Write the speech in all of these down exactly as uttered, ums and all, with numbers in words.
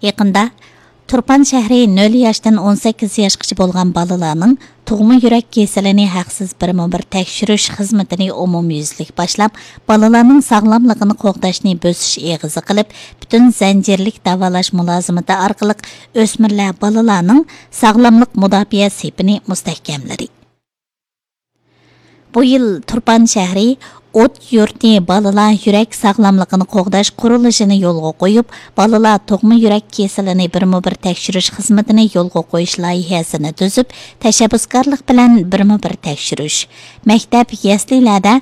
يېقىندا تۇرپان شەھىرى نۆل ياشتىن ئون سەككىز ياشقىچە بولغان بالىلارنىڭ تۇغما يۈرەك كېسىلىنى ھەقسىز بىرمۇ بىر تەكشۈرۈش خىزمىتىنى ئومۇميۈزلۈك باشلاپ، بالىلارنىڭ ساغلاملىقىنى قوغداشنى بۆسۈش ئېغىزى قىلىپ، پۈتۈن زەنجىرلىك داۋالاش مۇلازىمىتى ئارقىلىق ئۆسمۈرلەر بالىلارنىڭ ساغلاملىق مۇداپىئە سېپىنى مۇستەھكەملىدى. بۇ يىل تۇرپان شەھىرى ئوت يۇرتى بالىلار يۈرەك ساغلاملىقىنى قوغداش قۇرۇلۇشىنى يولغا قويۇپ، بالىلار تۇغما يۈرەك كېسىلىنى بىرمۇ بىر تەكشۈرۈش خىزمىتىنى يولغا قويۇش لايىھەسىنى تۈزۈپ، تەشەببۇسكارلىق بىلەن بىرمۇ بىر تەكشۈرۈش، مەكتەپ، يەسلىلەردە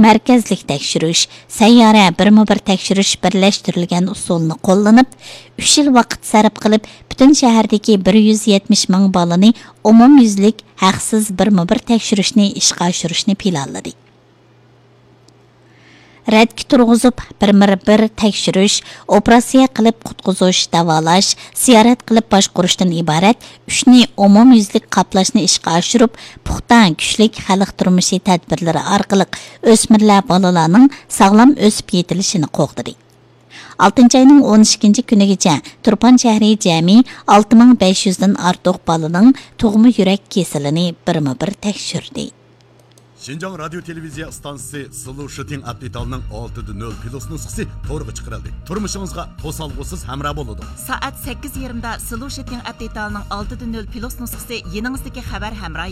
مەركەزلىك تەكشۈرۈش، سەييارە بىرمۇ بىر تەكشۈرۈش بىرلەشتۈرۈلگەن ئۇسۇلىنى قوللىنىپ، ئۈچ يىل ۋاقىت سەرپ قىلىپ، پۈتۈن شەھەردىكى بىر يۈز يەتمىش مىڭ بالىنى ئومۇميۈزلۈك ھەقسىز بىرمۇ بىر تەكشۈرۈشنى ئىشقا ئاشۇرۇشنى پىلانلىدى. رەتكە تۇرغۇزۇپ، بىرمۇ بىر تەكشۈرۈش، ئوپېراتسىيە قىلىپ قۇتقۇزۇش، داۋالاش، زىيارەت قىلىپ باشقۇرۇشتىن ئىبارەت ئۈچنى ئومۇميۈزلۈك قاپلاشنى ئىشقا ئاشۇرۇپ، پۇختا، كۈچلۈك خەلق تۇرمۇشى تەدبىرلىرى ئارقىلىق ئۆسمۈرلەر بالىلارنىڭ ساغلام ئۆسۈپ يېتىلىشىنى قوغدىدى. ئالتىنچى ئاينىڭ ئون ئىككىنچى كۈنىگىچە تۇرپان شەھىرى جەمئىي ئالتە مىڭ بەش يۈزدىن ئارتۇق بالىنىڭ تۇغما يۈرەك كېسىلىنى بىرمۇ بىر تەكشۈردى. شىنجاڭ رادىيو تېلېۋىزىيە ئىستانسىسى سلۇشىتىڭ ئەپ دېتالنىڭ ئالتە دە نۆل پلۇس نۇسخىسى تورغا چىقىرىلدى. تۇرمۇشىڭىزغا توسالغۇسىز ھەمراھ بولىدۇ. سائەت سەككىز يېرىمدا سلۇشىتىڭ ئەپ دېتالنىڭ ئالتە دە نۆل پلۇس نۇسخىسى يېنىڭىزدىكى خەۋەر ھەمراھى